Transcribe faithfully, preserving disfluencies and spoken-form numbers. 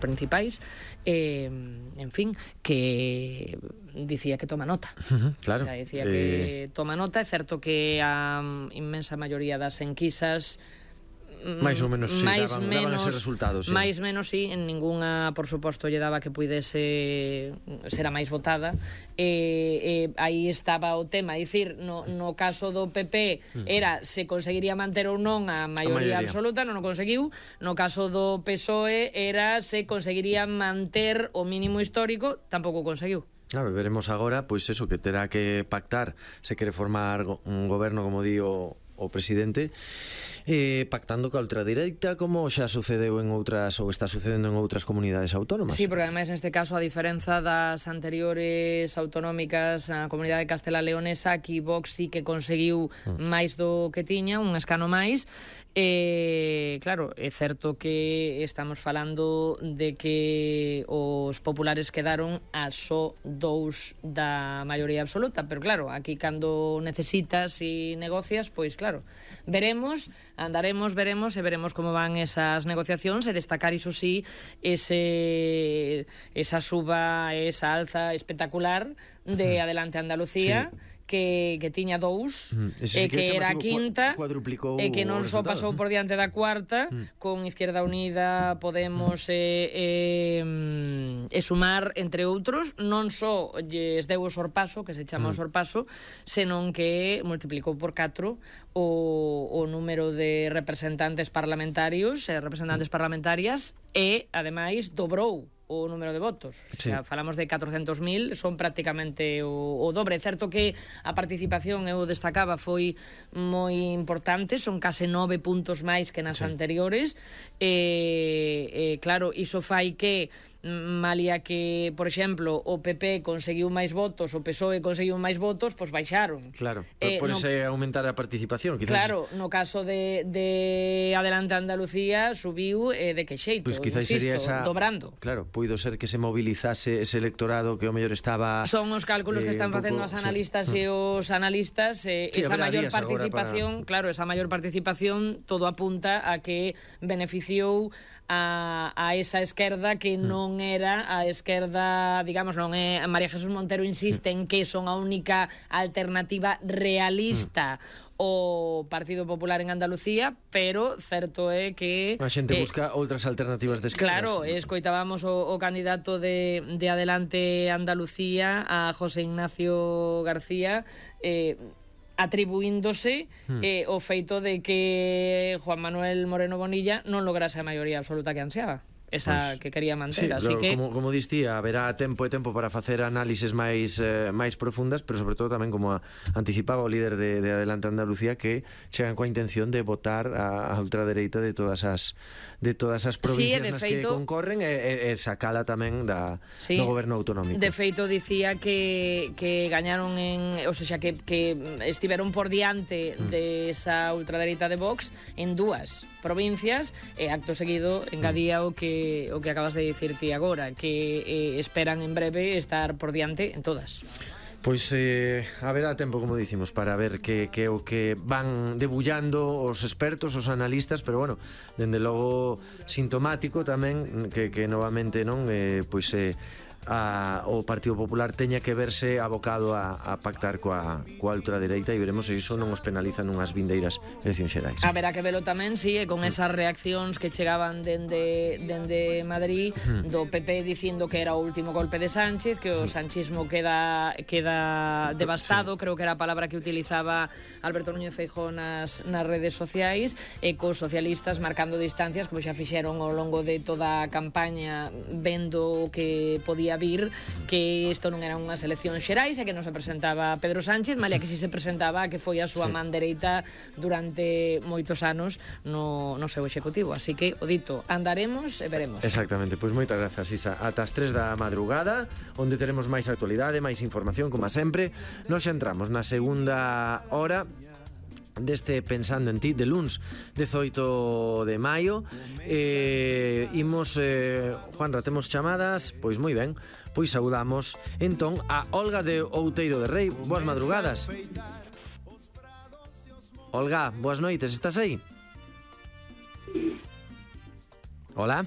principais, eh, en fin, que dicía que toma nota. Uh-huh, claro. O sea, dicía que eh... toma nota. É certo que a inmensa maioría das enquisas máis ou menos sí, máis daban, menos, daban ese resultado, sí. máis menos sí, en ninguna, por suposto, lle daba que puidese ser a máis votada. E, e aí estaba o tema, dicir, no, no caso do P P era se conseguiría manter ou non a maioría, a maioría absoluta, non o conseguiu. No caso do P S O E era se conseguiría manter o mínimo histórico, tampouco conseguiu. Claro, veremos agora, pois eso, que terá que pactar, se quere formar un goberno, como di o, o presidente, eh, pactando ca ultradereita, como xa sucedeu en outras, ou está sucedendo en outras comunidades autónomas. Sí, porque ademais neste caso, a diferenza das anteriores autonómicas, a comunidade de Castela Leonesa, aquí Vox sí que conseguiu mm. máis do que tiña, un escano máis. Eh, claro, é certo que estamos falando de que os populares quedaron a só dous da maioría absoluta, pero claro, aquí cando necesitas e negocias, pois claro, veremos, andaremos, veremos e veremos como van esas negociacións, e destacar, iso sí, ese esa suba, esa alza espectacular de Adelante Andalucía, sí. Que, que tiña dous, mm. e sí que, que era a quinta, e que non só pasou por diante da cuarta, mm. con Izquierda Unida, Podemos e, e, e Sumar, entre outros, non só lles deu o sorpaso, que se chama mm. o sorpaso, senón que multiplicou por catro o, o número de representantes parlamentarios e representantes mm. parlamentarias, e, ademais, dobrou o número de votos. O sea, sí. Falamos de catrocentos mil, son prácticamente o, o dobre. É certo que a participación, eu destacaba, foi moi importante, son case nove puntos máis que nas sí. anteriores. E, e claro, iso fai que malia que, por exemplo, o P P conseguiu máis votos, o P S O E conseguiu máis votos, pois baixaron. Claro, eh, por no, ese aumentar a participación, quizás. Claro, no caso de, de Adelante Andalucía subiu eh, de que xeito, pues quizás insisto, sería esa, dobrando. Claro, puido ser que se mobilizase ese electorado que o mellor estaba... Son os cálculos eh, que están facendo as analistas sí. e os analistas, eh, sí, esa maior participación, para... claro, esa maior participación todo apunta a que beneficiou a, a esa esquerda que mm. non era a esquerda, digamos, non é, María Jesús Montero insiste en que son a única alternativa realista mm. o Partido Popular en Andalucía, pero certo é que a xente eh, busca outras alternativas de esquerdas. Claro, escoitábamos o, o candidato de, de Adelante Andalucía, a José Ignacio García, eh, atribuíndose hmm. eh, o feito de que Juan Manuel Moreno Bonilla non lograse a maioría absoluta que ansiaba, esa pues, que quería manter, sí, así que como, como distía, haberá tempo e tempo para facer análises máis eh, máis profundas, pero sobre todo tamén como a, anticipaba o líder de, de Adelante Andalucía, que chegan coa intención de votar a, a ultradereita de todas as de todas as provincias sí, nas feito, que concorren e, e, e sacala tamén da, sí, do goberno autonómico. De feito dicía que, que gañaron en, o sea, que, que estiveron por diante mm. de esa ultradereita de Vox en dúas provincias, e acto seguido engadía mm. o que o que acabas de dicir ti agora, que eh, esperan en breve estar por diante en todas. Pois eh, haberá tempo, como dicimos, para ver que, que o que van debullando os expertos, os analistas, pero bueno, dende logo sintomático tamén que, que novamente non eh, pois eh, a, o Partido Popular teña que verse abocado a, a pactar coa, coa ultradereita, e veremos se iso non os penaliza nunhas vindeiras eleccións xerais. Haberá que velo tamén, si, sí, con esas reaccións que chegaban dende, dende Madrid do P P dicindo que era o último golpe de Sánchez, que o sanchismo queda queda devastado, sí. Creo que era a palabra que utilizaba Alberto Núñez Feijóo nas, nas redes sociais, e cos socialistas marcando distancias, como xa fixeron ao longo de toda a campaña, vendo que podía vir que isto non eran unhas eleccións xerais e que non se presentaba Pedro Sánchez, malia que si se presentaba que foi a súa sí. man dereita durante moitos anos no, no seu executivo. Así que, o dito, andaremos e veremos. Exactamente, pois moitas grazas, Isa. Ata as tres da madrugada, onde teremos máis actualidade, máis información, como sempre. Nos xa entramos na segunda hora deste Pensando en Ti, de luns dezoito de maio. eh, Imos eh, Juanra, temos chamadas? Pois moi ben, pois saudamos entón a Olga de Outeiro de Rei. Boas madrugadas, Olga, boas noites, estás aí? Hola.